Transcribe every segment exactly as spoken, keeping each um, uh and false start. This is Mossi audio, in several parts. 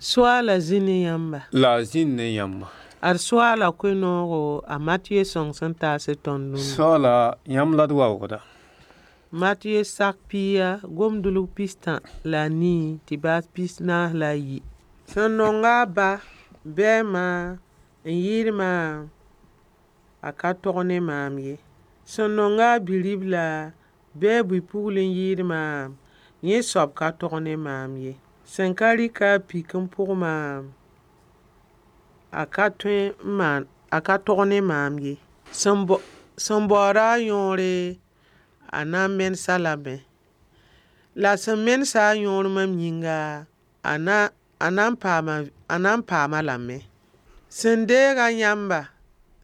Soaala zĩ ne yãmba. La a zĩnd ne yãmba. Ad soaala koe-noogo a Matɩyɛ sõng sẽn taas tõnd rũnna. Soaala yãmb la d waoogda. Matɩyɛ sak pia gomdulg pistã la a nii tɩ baas pis-naas la a yi. Sẽn nonga a ba bɩ a ma n yɩɩd maam, a ka tog ne maam ye. Sẽn nonga a bi-ribla bɩ a bi-pugl n yɩɩd maam, yẽ soab ka tog ne maam ye. Sẽn ka rɩk a pik n pʋg maam, a ka tõe n maan a ka tog ne maam ye. Sẽn baooda a yõore, a na n menes-a lame. La sẽn menes-a a yõor mam yĩnga, a na a na n paama a na n paam-a lame. Sẽn deega yãmba,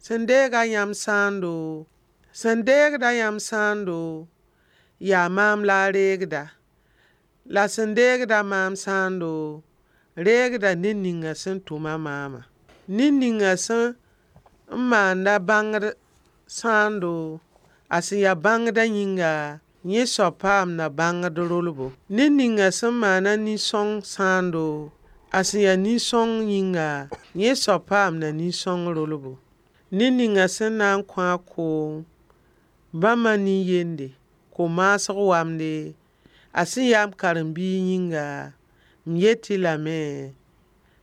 sẽn deega yãmb sãando, sẽn deegda yãmb sãando, yaa maam la a reegda. La sẽn deegda maam sãando, reegda ned ninga sẽn tʋma maamã. Ned ninga sẽn n maanda bãngd sãando, a sẽn ya bãngdã yĩnga, yẽ soab paamda bãngd rolbo. Ned ninga sẽn maana nin-sõng sãando, a sẽn ya nin-sõng yĩnga, yẽ soab paamda nin-sõng rolbo. Ned ninga sẽn na n kõ a koom bãmba nin-yende, ko-maasg wamde, a sẽn yaa m karen-biig yĩnga, m yet-y lame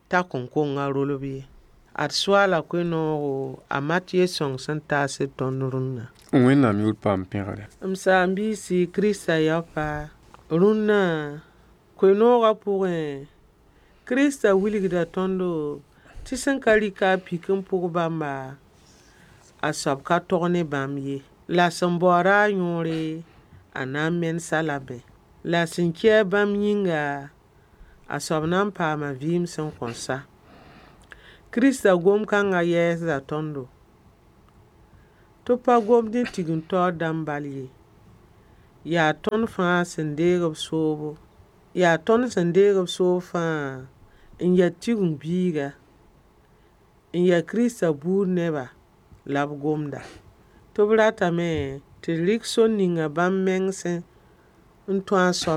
t'a kõn kong a rolb ye. Ad soaala koe-noogo a Matɩyɛ sõng sẽn taas tõnd rũnna. Wẽnnaam yʋʋr paam pẽgre. M saam-biisi Kirista yaopa, rũnnã koe-noogã pʋgẽ, Kirista wilgda tõndo tɩ sẽn ka rɩk a pik n pʋg bãmba, a soab ka tog ne bãmb ye. La sẽn baooda a yõore, a na n menes-a lame. La sẽn ki-a bãmb yĩnga, a soab na n paama vɩɩm sẽn kõn sa. Kirista gom-kãngã yɛɛsda tõndo. Tɩ b pa gomd ne tigim-taoor dãmb bal ye. Yaa tõnd fãa sẽn deeg b soobo, yaa tõnd sẽn deeg b soob fãa n ya tigim-biiga, n ya Kirista buud neba la b gomda. Tɩ b ratame tɩ d rɩk sor ninga bãmb meng sẽn n tũ a soabã.